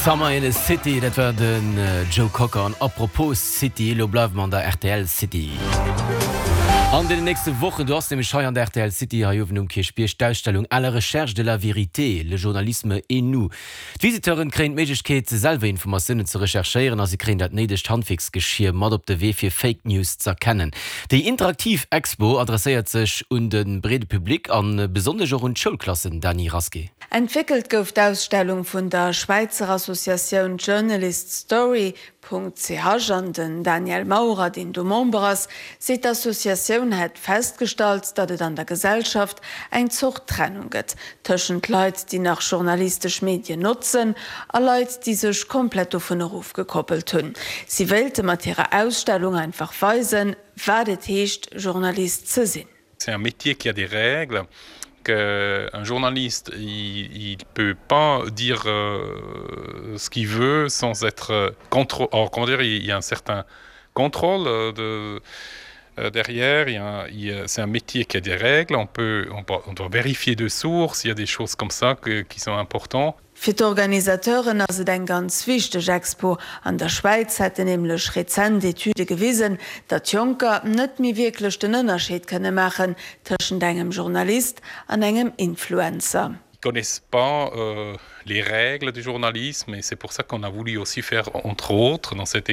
Summer in the City, dat war den Joe Cocker. An apropos City, elo bleiwe mer an der rtl City. An deenen nächste Wochen, do ass nämlech hei an der rtl City, hei uewen um Kierchbierg, d'Ausstellung À la recherche de la vérité, le journalisme et nous. D'Visiteuren kréien d'Méiglechkeet, selwer Informatiounen ze recherchéieren a si kréien dat néidegt Handwierksgeschier mat op de Wee, fir Fake News z'erkennen. Déi interaktiv Expo adresséiert sech un de breede Public a besonnesch och un d'Schoulklassen, Dany Rasqué. Entwéckelt gouf d'Ausstellung vun der Schwäizer Associatioun Journalist Story. CH an den Daniel Maurer, deen do Member ass, seet d'Associatioun hätt festgestallt, datt et an der Gesellschaft eng Zort Trennung gëtt tëschent Leit, déi nach journalistesch Medien notzen a Leit, déi sech komplett dovun erofgekoppelt hunn. Si wéilte mat hirer Ausstellung einfach weisen, wat et heescht, Journalist ze sinn. C'est un métier qui a des règles qu'un journaliste il, il peut pas dire euh, ce qu'il veut sans être contre or, comment dire il y a un certain contrôle euh, de euh, derrière il y a, il y a, c'est un métier qui a des règles on peut on, on doit vérifier de sources il y a des choses comme ça que, qui sont importants Fir d'Organisateuren ass et eng ganz wichteg Expo. An der Schwäiz hätten nämlech rezent Etüde gewisen, datt Jonker net méi wierklech den Ënnerscheed kënne maachen tëschent engem Journalist an engem Influencer. Connaissent pas les règles du journalisme et c'est pour ça qu'on a voulu aussi faire entre autres dans cette.